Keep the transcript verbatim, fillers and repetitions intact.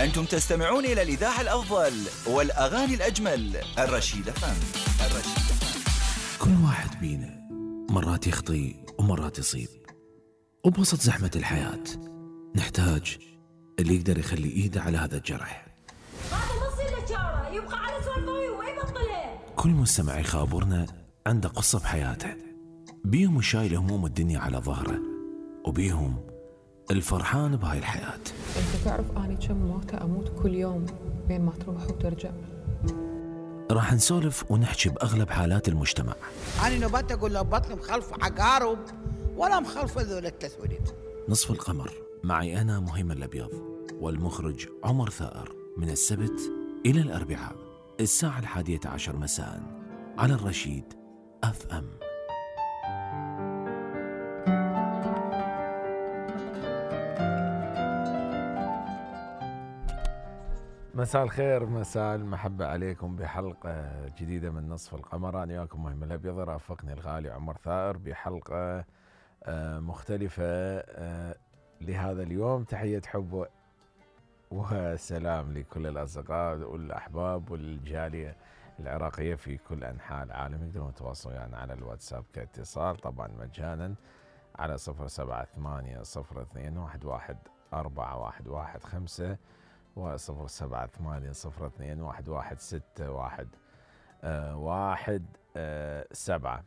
أنتم تستمعون إلى الإذاعة الأفضل والأغاني الأجمل. الرشيد فم. الرشيد فم. كل واحد بينا مرات يخطي ومرات يصيب، وبوسط زحمة الحياة نحتاج اللي يقدر يخلي إيده على هذا الجرح. هذا نص النجارة يبقى على سوالفه وما يبطلها. كل مستمع يخابرنا عنده قصة بحياته، بيهم شايل هموم الدنيا على ظهره، وبيهم الفرحان بهاي الحياة. انت تعرف اني كم موتة اموت كل يوم بين ما تروح وترجع. راح نسولف ونحكي بأغلب حالات المجتمع. أنا نبات أقول له بطل مخلف عقارب ولا مخلف ذول التسوليد. نصف القمر معي أنا مهيمن الأبيض والمخرج عمر ثائر، من السبت إلى الأربعاء الساعة الحادية عشر مساء على الرشيد أف أم. مساء الخير، مساء المحبة عليكم بحلقة جديدة من نصف القمر. أنا وياكم مهيمن الأبيض، رافقني الغالي عمر ثائر بحلقة مختلفة لهذا اليوم. تحية حب وسلام لكل الأصدقاء والأحباب والجالية العراقية في كل أنحاء العالم. يقدرون يتواصلوا يعني على الواتساب كاتصال طبعا مجانا على صفر سبعة ثمانية صفر اثنين واحد واحد أربعة واحد واحد خمسة وصفر سبعة ثمانية صفر اثنين واحد واحد ستة واحد واحد سبعة.